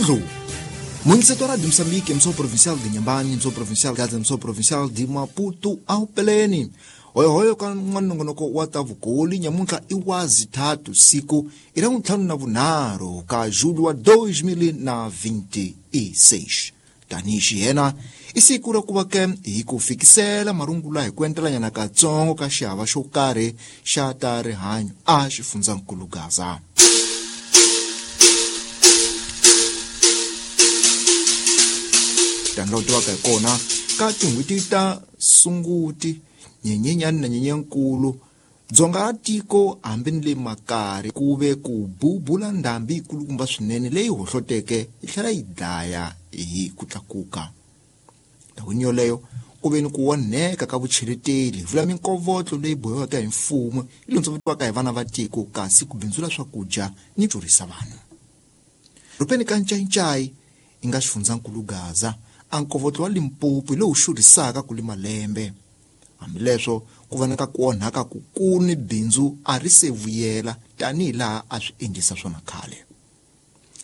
Ndlundlu Municipal de Moçambique, Emissão Provincial de Inhambane, Emissão Provincial de Gaza, Emissão Provincial de Maputo, ao Peleni. Hoyohoyo ka n'wanongonoko wa ta vukoli nyamuntlha i wa zithathu siku i ra ntlhanu na vunharhu ka julho wa 2026. Tanihi xiyena i siku ra ku va ke hi ku fikisela marungula hi ku entelanyana katsongo ka xihava xo karhi xa ta rihanyo a xifundzankulu Gaza. Tanihi tivaka hi kona ka tin'hweti ta Sunguti, Nyenyenyani na Nyenyenkulu, dzonga ra tiko hambi ni le makari ku ve ku bubula ndhambi yikulukumba swinene leyi hohloteke yi tlhela yi dlaya hi ku tlakuka. Ndhawini yoleyo ku ve ni ku onheka ka vucheleteli, vula minkovotlo leyi bohiwaka hi mfumo yi londzovetiwaka hi vana va tiko kasi ku bindzula swakudya ni xurhisa vanhu. Rhopeni ka Ncayincai yi nga xifundzankulu Gaza, a nkovotlo wa Limpopo hi lowu xurhisaka ku li malembe. Hambileswo ku va na ka ku onhaka kukulu ni bindzu a ri se vuyela tanihi laha a swi endlisa swona khale.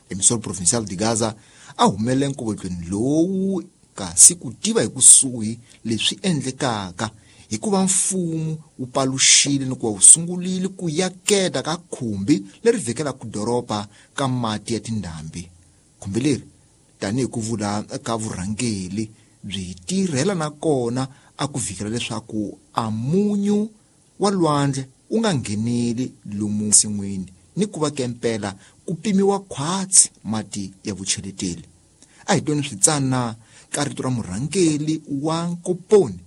Emissor Provincial de Gaza a humele nkovotlweni lowu kasi ku tiva hi kusuhi leswi endlekaka hikuva mfumo wu paluxile ni ku va wu sungurile ku yaketa ka khumbi leri vhekelaka doroba ka mati ya tindhambi. Khumbi leri tanihi ku vula ka vurhangeli byi tirhela na kona a ku vhikela leswaku a munyu wa lwandle wu nga ngheneli lomu nsin'wini ni ku va kempela ku pimiwa khwatsi mati ya vucheleteli. A hi tweni switsana ka rito ra murhangeli wa Nkoponi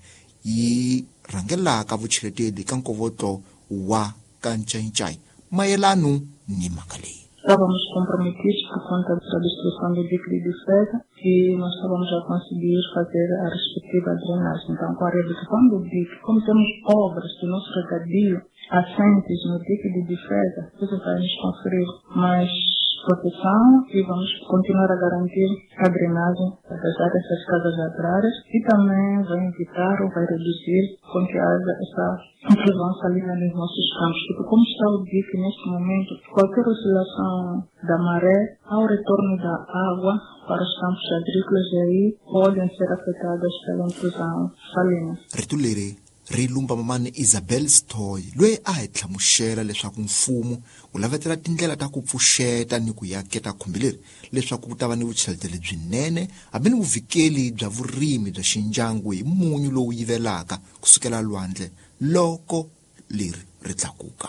yi rhangelaka vucheleteli ka nkovotlo wa Kancayincai mayelano ni mhaka leyi. Estávamos comprometidos por conta da destruição do dique de defesa e nós estávamos a conseguir fazer a respectiva drenagem. Então, com a redução do dique, como temos obras do nosso regadio assentes no dique de defesa, isso vai nos conferir mais proteção e vamos continuar a garantir a drenagem das áreas das casas agrárias e também vai evitar ou vai reduzir com que haja essa intrusão salina nos nossos campos, porque como está o dique neste momento, qualquer oscilação da maré, ao retorno da água para os campos agrícolas e aí podem ser afetadas pela intrusão salina. Rito leri ri lumba mamani Isabel Stoy loyi a hi hlamusela leswaku mfumo wu lavetela tindlela ta ku pfuxeta ni ku yaketa khumbi leri leswaku ku ta va ni vucheleteli byinene hambi ni vuvikeli bya vurimi bya xindyangu hi munyu lowu yivelaka kusukela lwandle loko leri ri tlakuka.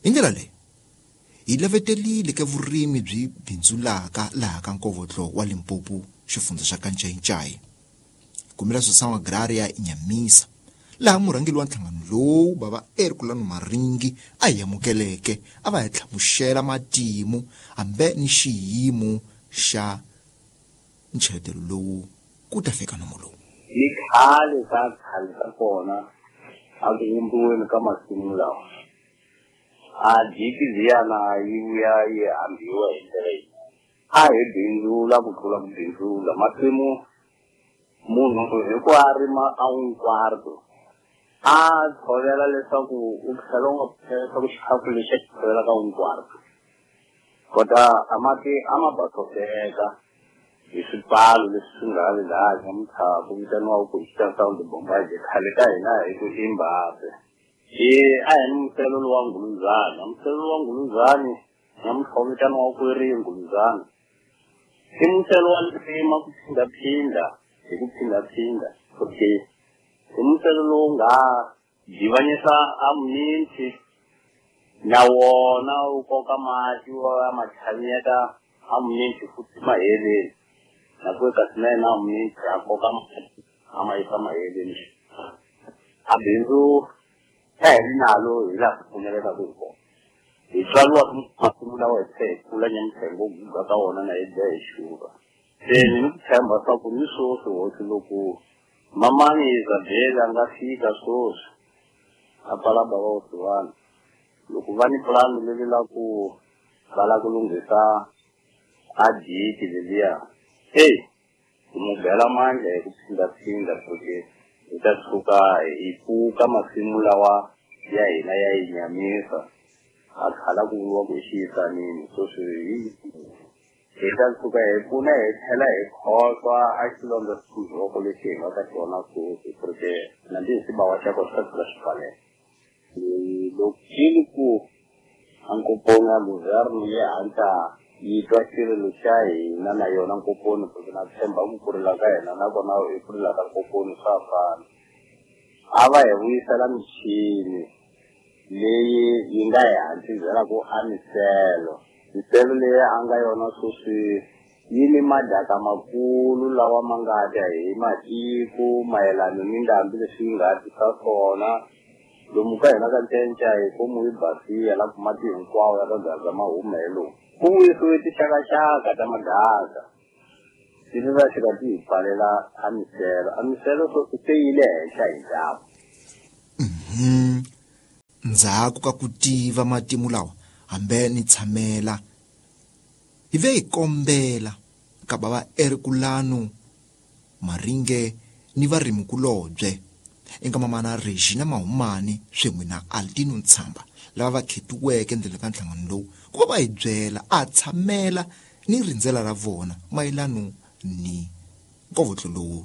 Hi ndlela leyi hi lavetelile ke vurimi byi bindzulaka laha ka nkovotlo wa Limpopo xifundza xa Kancayincai. Kumela Associação Agrária Inhamisa laha murhangeri wa nhlangano lowu bava Herculano Maringi a hi amukeleke a va hi hlamusela matimu hambi ni xiyimo xa ncheletelo lowu ku ta fika nomo lowu. Ni khale ka khale ka kona a ku vumbiweni ka masimu lawa a diki liyana yi vuya yi hambiwa hi ndlela yi a hi bindzula ku tlula ku bindzula masimu. Munhu hi ku a rima a un quarto a tshovela leswaku u tlhela u nga leswaku xikhafu lexi a xi tshovela ka un quarto kota a mati a ma basoseka hi swipalo leswi swi nga le laha nyamuntlha ku vitaniwaka ku hi Sound Bombaje khale ka hina hi ku i Mbappe. I a hi ni muselo lowa Nguluzana, muselo lowa Nguluzani nyamuntlha wu vitaniwaka ku ri Nguluzana i muselo wa ntima ku phindaphinda hi ku phindaphinda okay i muselo lowu nga divanyisa a minti na wona wu koka mati wa matlhanyeta a minti futhi maheleni na ku kasi na yena a minti a koka mati a ma yisa maheleni a bindzu a hi ri nalo hi laha ku pfumelekaka hi kona hi tswariwa masimu lawa hi tlhe hi kula nyamuntlha hi ngo guga ka wona na hi dya hi xurha. Se ni ku tshemba swa ku ni swoswi hosi loko mamani Isabel a nga fika swoswi a pfala bava Osiwana loko va ni pulani leri la ku va la ku lunghisa a diki leliya eyi hi mu bela mandla hi ku phindaphinda porque hi ta tshuka hi pfuka masimu lawa ya hina ya yi nyamisa a khala ku vuriwa ku hi xiyisanini swoswi hi Hi ta tshuka hi pfuna hi tlhela hi khohlwa a xilondza xindzhoko lexi hi nga ka xona sweswi porque na ndi xibawa xa kona xi ta tshuka xi pfaleka. Loko xi ku a nkoponi ya governo yi hatla yi twa xirilo xa hina na yona nkoponi porque na tshemba ku kurila ka hina nakona i kurila ka nkoponi swa fana. A va hi vuyisela michini leyi yi nga hi hatliselaku a miselo. Miselo leyi a nga yona sweswi yi ni madaka makulu lawa ma nga dya hi matiko mayelana ni ndhambi leswi yi nga tisa swona. Lomu ka hina ka Ncenca hi komu yi basiya la ku mati hinkwawo ya ka Gaza ma huma hi lomu. Ku vuyisiwe tixakaxaka ta madaka ti va fika ti hi pfalela a miselo. A miselo sweswi se yi le henhla hi nxavo. Ndzhaku ka ku tiva matimu lawa hambe ni tshamela hi ve hi kombela ka bava Erikulano Maringe ni varimikulobye eka mamana Regina Mahumani swin'we na Altino Ntshamba lava va khetiweke endzeni ka nhlangano lowu ku va va hi byela a tshamela ni rindzela ra vona mayelano ni nkovotlo lowu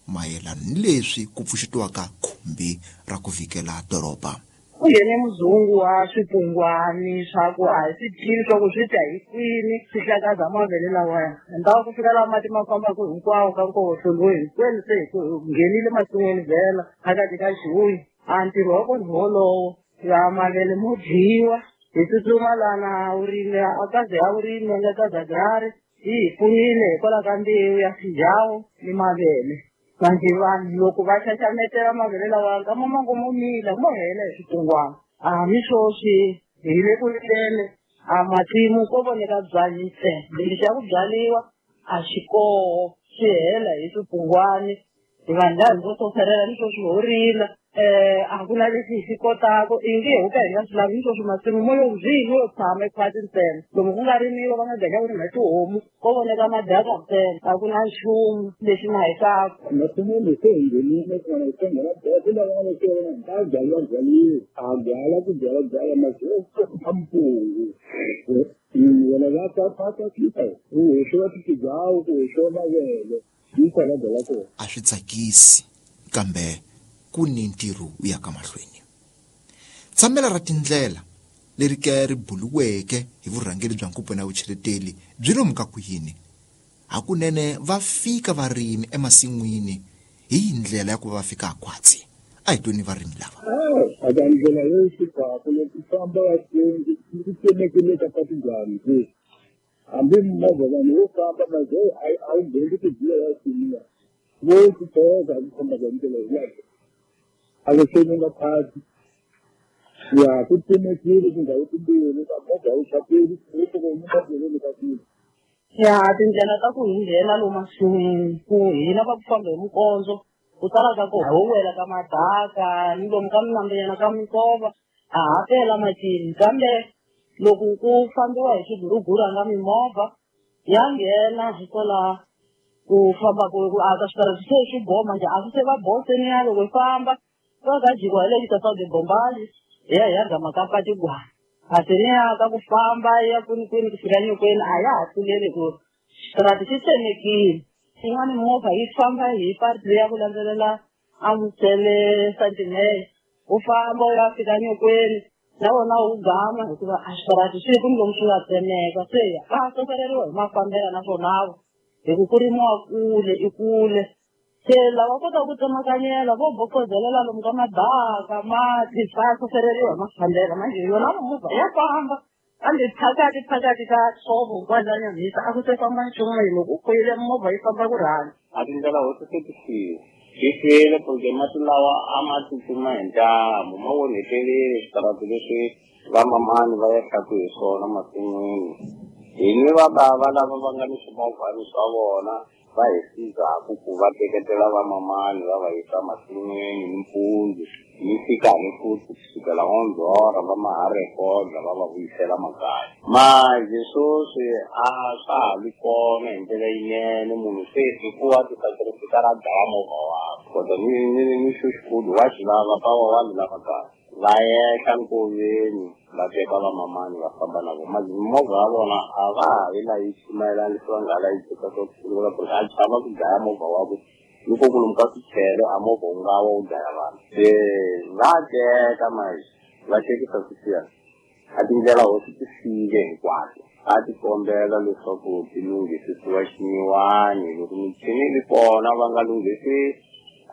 mayelano ni leswi ku pfuxetiwaka khumbi ra ku vikela doroba. Ku nghene muzungu wa swipungwani swa ku a hi swi tivi swa ku swi dya hi kwini swi hlakaza mavele lawaya. Endzhaku ku fika laha mati ma fambaka hinkwawo ka nkovotlo lowu hinkwenu se hi nghenile masin'wini vhela phakathi ka xihuyi. A ntirho wa kona hi wolowo ya mavele mo dyiwa hi tsutsuma lana vurimi a kaze ya vurimi a nga ka Gagari yi hi pfunile hikwalaho ka mbewu ya swijawo ni mavele. Manje vanhu loko va xaxametela mavele lawa nkama mango mo mila mo hela hi swipungwana. A mi sweswi hi le ku rileni a matimu ko voneka byanyi ntsena lexi xa ku byariwa a xi koho swi hela hi swipungwani. Hi vanhu lava hi ngo soferela ni sweswi ho rila a ku na lexi hi xi kotaka i nge ho ka hi nga swi lavi ni sweswi masimu mo yo byi mo yo tshama ekhwati ntsena. Lomu ku nga rimiwa va nga ganya ku rima tihomu ko voneka madaka ntsena a ku na nchumu lexi ma hekaka. Masin'wini se hi nghenile kona hi nghena ku lava se ta byala byaliwa a byala ku byala byala masimu a mpungu wena va ta ta ta ku hoxiwa tijawu ku hoxiwa mavele yi kona byala kona. A swi tsakisi kambe ku ni ntirho wu ya ka mahlweni. Tshamela ra tindlela leri ke ri buluweke hi vurhangeri bya Nkoponi ya Vucheleteli byi lomu ka ku yini. Hakunene va fika varimi emasin'wini hi ndlela ya ku va fika khwatsi. A hi tweni varimi lava. Aka ndlela yo fika loko famba va ku tsemekile ka patu njhani. Hambi movha vanhu vo famba maze a wu ngheni ku biya ya simiya. Vo ku toka ku famba ka ndlela yaleyo. A ku seni nga phati. Ya ku tsemekile tindhawu timbirhi ka movha wu xapeli ku ku nyika ndlela ka kule. Ya tindlela ta ku hi nghena lomu masin'wini ku hina va ku famba hi mikondzo ku tala ka ku ho wela ka madaka ni lomu ka minambyana ka minkova a ha pela matini kambe loko ku fambiwa hi swiguruguru nga mimovha ya nghena hikwalaho ku famba ku aka switarati se swi boma njhe a swi se va boseni ya loko hi famba va ka jikiwa hi le Xitafade Bombali hi ya hi ya gama ka Patigwana. Kasi ni ya ka ku famba ya kwini kwini ku fika nyokweni a ya ha tluleli ku xitarati xi tsemekile. Yin'wani movha yi famba hi patu ya ku landzelela a Musele Sentinel u famba u ya fika nyokweni na wona wu gama hikuva a xitarati swi ku lomu swi nga tsemeka se va sofereriwa hi mafambela naswona hi ku ku rimiwa kule i kule. Se lava kotaka ku tsemakanyela vo bokozelela lomu ka madaka mati va sofereriwa hi mafambela manje yona movha ya famba kambe phakathi phakathi ka nsovo kwalaya Nyamhisa a ku se famba nchumu loko u kwele movha yi famba ku rhanga. A tindlela ho se ti file ti file porque mati lawa a ma tsutsuma hi ntambu ma onhetelile switarati leswi vamamani va yehlaku hi swona masin'wini. Hi ni va bava lava va nga ni swimovhani swa vona va hi sizaku ku va teketela vamamani va va yisa masin'wini nimpundzu ni fika ni futhi kusukela n'wandzhora va ma ha rekoda va va vuyisela makaya. Manje sweswi a swa ha vi kona hi ndlela yinene munhu se i ku va tisacrifica ra dlaya movha wakwe kodwa ni ni ni xo xikulu wa xi lava pawa wa li lava kahle va yehla nkoveni Va teka vamamani va famba na vona. Movha ya vona a va ha yi layichi mayelana leswi va nga ha layichisa swo sungula ku ri a chava ku dlaya movha wa ku loko ku lomu ka swichele a movha wu nga wa wu dlaya vanhu. Se va teka manje va tekisa sweswiya a tindlela hosi ti file hinkwato. A ti kombela leswaku ti lunghisisiwa xinyiwani loko michini yi ri kona va nga lunghisi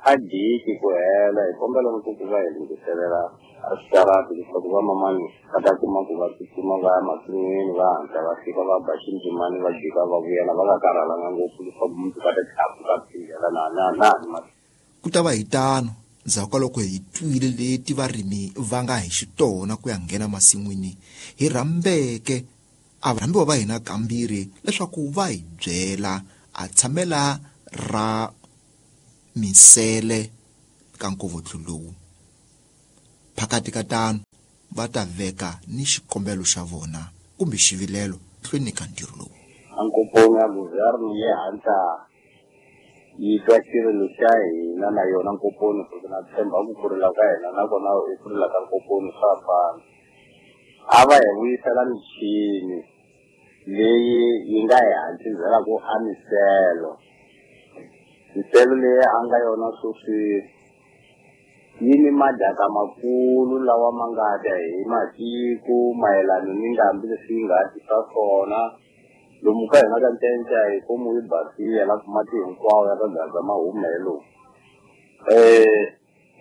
a diki ku hela hi kombela ni ku ku va hi lunghiselela a switarati leswaku vamamani va ta kuma ku va tsutsuma va ya masin'wini va hatla va fika va ba xindzimani va jika va vuyela va nga karhalanga ngopfu leswaku mundzuku va ta tlhapuka tindlela na na na na. Ku ta va hi tano ndzhaku ka loko hi twile leti varimi va nga hi xitona ku ya nghena masin'wini, hi rhambeke a varhambiwa va hina kambirhi leswaku va hi byela a tshamela ra minsele ka nkovotlo lowu. Phakati ka tano va ta veka ni xikombelo xa vona kumbe xivilelo hlweni ka ntirho lowu. A nkoponi ya Guvherno yi hatla yi twa xirilo xa hina na yona nkoponi ku na tshemba ku ku rila ka hina nakona i ku rila ka nkoponi swa fana. A va hi vuyisela michini leyi yi nga hi hatliselaku a miselo. Miselo leyi a nga yona sweswi yi ni madaka makulu lawa ma nga ta hi matiko mayelana ni ndhambi leswi yi nga tisa swona. Lomu ka hina ka Ntenca hi komu yi basile la ku mati hinkwawo ya ka Gaza ma huma hi lomu.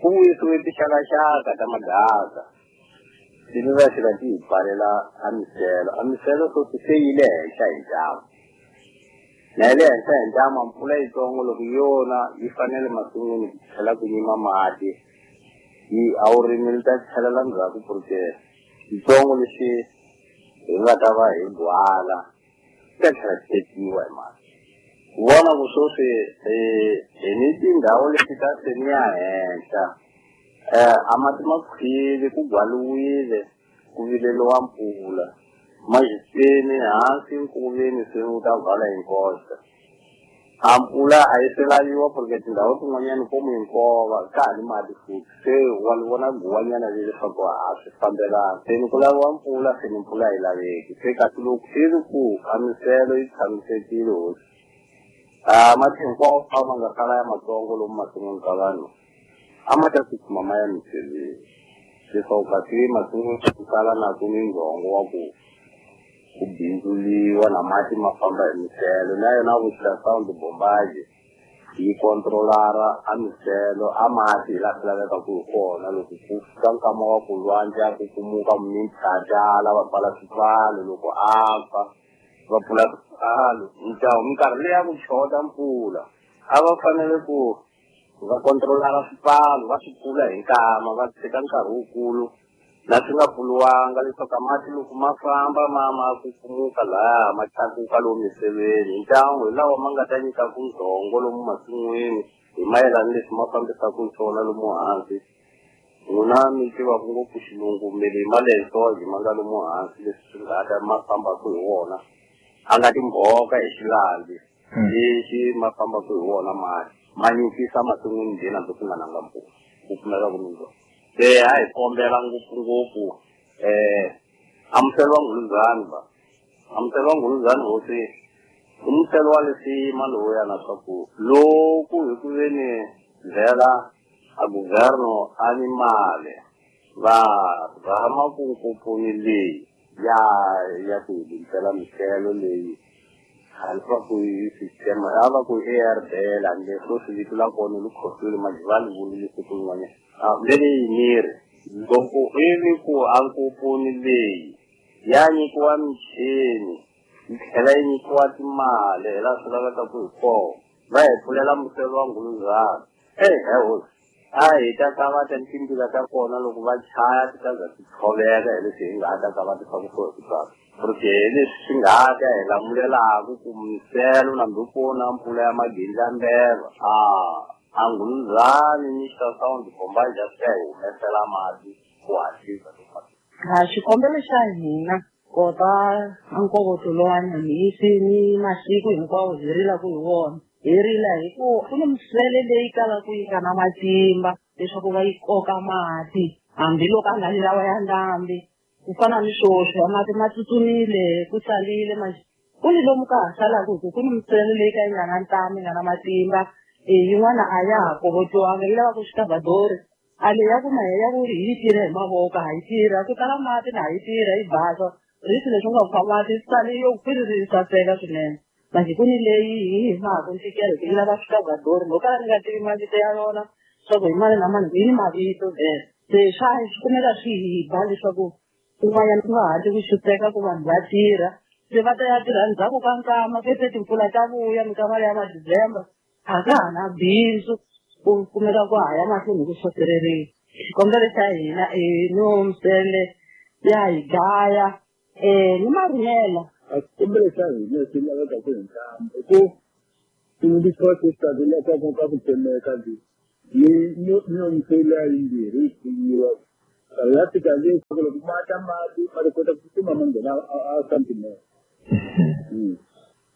Ku vuyisiwe tixakaxaka ta madaka ivi va fika ti hi pfalela a miselo. A miselo sweswi se yi le henhla hi ntamu. Na yi le henhla hi ntamu mpfula yitsongo loko yona yi fanele masin'wini ku tlhela ku nyima mati yi a wu rimi li ta tlhelela ndzhaku porque xitsongo lexi hi nga ta va hi gwala xi ta tlhela xi tekiwa hi mati. Ku vona ku sweswi hi ni tindhawu leti ta seni ya henhla a mati ma khwile ku gwaliwile ku vileliwa mpfula majiseni hansi nkoveni se wu ta vala hi nkoxa. A mpfula a yi se laviwa porque tindhawu tin'wanyani komu hi nkova ka ha ni mati futhi se wa li vona guwanyana leri leswaku a swi fambelani. Se ni ku laviwa mpfula se ni mpfula a yi laveki se kasi loko i ri ku a miselo yi tshamisekile hosi a mati hinkwawo a ma nga sala ya matsongo lomu masin'wini ka vanhu a ma ta tsutsuma ma ya miseleni leswaku kasi masin'wini ku sala na ku ni ndzhongo wa ku ku bindzuliwa na mati ma famba hi miselo na yona ultrasound bombage yi kontrolara a miselo a mati hi laha swi lavekaka hi kona loko ku fika nkama wa ku lwandle a ku kumuka mintlhatala va pfala swipfalo loko a pfa va pfula swipfalo ntawu minkarhi leyi ya ku chota mpfula a va fanele ku va kontrolara swipfalo va swi pfula hi nkama va tshika nkarhi wukulu na swi nga pfuriwanga leswaku mati loko ma famba ma ma kukumuka laya ma tlakuka lomu miseveni hi ntangu hi lawa ma nga ta nyikaku ndzhongo lomu masin'wini hi mayelana leswi ma fambisaka swona lomu hansi. N'wina mi tivaka ngopfu xilungu mele hi malensoji ma nga lomu hansi leswi swi nga ta ma fambaka hi wona a nga timbhoka hi xilandzi lexi ma fambaka hi wona mati ma nyukisa masin'wini njhe na ku nga nanga mpfula ku pfumelaka ku mindzhongo. Se a hi kombela ngopfungopfu amuselo wa Nghuluzani va amuselo wa Nghuluzani hosi i muselo wa lisima lowuya na swa ku loko hi ku ve ni ndlela a guverno a ni mali va rhama ku nkoponi leyi ya ya ku hi lunghisela miselo leyi hambi va ku yi system a va ku ARDL hambi leswo swi vito la kona li khohlwile manje va li vulile siku rin'wanyana. Leyi miri loko i ri ku a nkoponi leyi ya nyikiwa michini yi tlhela yi nyikiwa timali hi laha swi lavekaka hi kona va hi pfulela muselo wa Nghuluzana. He hosi a hi ta kavata timbila ta kona loko va chaya ti ta za ti tshoveka hi leswi hi nga ta kavata swa ku swo hi ku tsaka porque hi leswi swi nga ta hi lamulelaka ku miselo nambi ku na mpfula ya magindlambeva a Nghuluzani ni ultrasound bombage swi ya hi humesela mati ku hatlisa. A xikombelo xa hina kota nkovoto lowa Nyamhisi ni masiku hinkwawo hi rilaka hi wona hi rila hi ku ku ni misele leyi kalaka yi nga na matimba leswaku va yi koka mati hambiloko a nga ni lawa ya ndhambi Ku fana ni swoswi a mati ma tsutsumile ku salile manje ku ni lomu ka ha salaka hi ku ni misele leyi ka yi nga na ntamu yi nga na matimba yin'wana a ya ha kovotiwanga yi lava ku xikavhadori a leyi ya ku mahe ya ku hi yi tirha hi mavoko ha yi tirha ku tala mati na ha yi tirha yi basa risi leswi nga fa mati sale yo kwiriri yi saseka swinene manje ku ni leyi hi hi maku ntikelo yi lava xikavhadori no kala ni nga tivi mavito ya yona swa ku hi mani na mani yi ni mavito vhele se swa swi kumeka swi hi ba leswaku kun'wanyana ku nga hatli ku xuteka ku vanhu va tirha se va ta ya tirha ndzhaku ka nkama fese timpfula ta vuya minkama leya ma-December a ka ha na bindzu ku kumeka ku ha ya mahlweni hi ku xotereriwa. Xikombelo xa hina i no misele ya hi dlaya ni marimela. A xikombelo xa hina lexi lavekaka hi ntamu i ku tivutisiwa leswaku ka ku tsemeka ni ni misele ya yimbirhi yi pfinyiwa ya fika le loko ma ta mati ma ta kota ku tsutsuma ma nghena a santimete.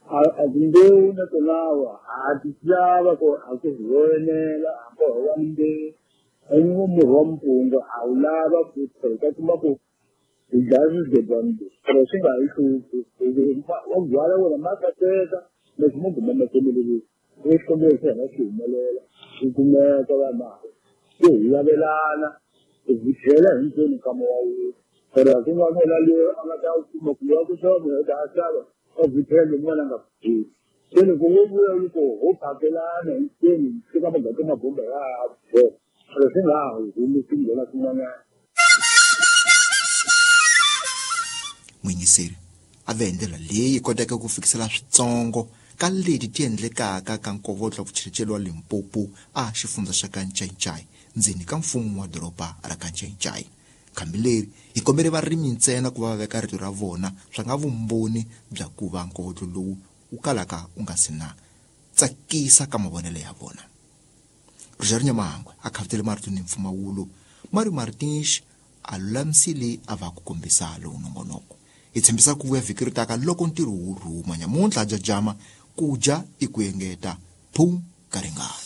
A timbewu na tona ha ti lava ku a ku hi enela a ko wa mbewu en'we murhi wa mpunga a wu lava ku hi ta kuma ku hi dlaya swigedlani leswi pero swi nga hi hluphi wa byala wona ma kateka leswi mo guma ma tsemeleriwa i xikombelo xa hina xi humelela xi kumeka vanhu ku hi lavelana hi tlhela hinkwenu nkama wa wun'we pero a ku nga vona loyi a nga ta kuma ku ya ku xava munhu a xava a vuthela un'wana a nga vutheli se loko wo vuya loko ho phakelana hinkwenu swi ka magata mabomba ya ha pero swi nga ha humi swi nghena swin'wanyana. Muyingiseri a ve hi ndlela leyi koteke ku fikisela switsongo ka leti ti endlekaka ka nkovotlo wa vuchelicheli wa Limpopo a xifundza xa ka Ncayincai ndzeni ka mfumo wa doroba ra ka Ncayincai. Khambi leri hi kombele varimi ntsena ku va va veka rito ra vona swa nga vumbhoni bya ku va nkovotlo lowu wu kalaka wu nga si na tsakisa ka mavonelo ya vona. Rogério Nyamahangwe a khavutele marito ni mpfumawulo Mario Martins a lulamisile a va ku kombisa lowu nongonoko. Hi tshembisa ku vuya vhiki ri taka loko ntirho wu rhuma nyamuntlha jajama ku dya i ku engeta phum ka ringana.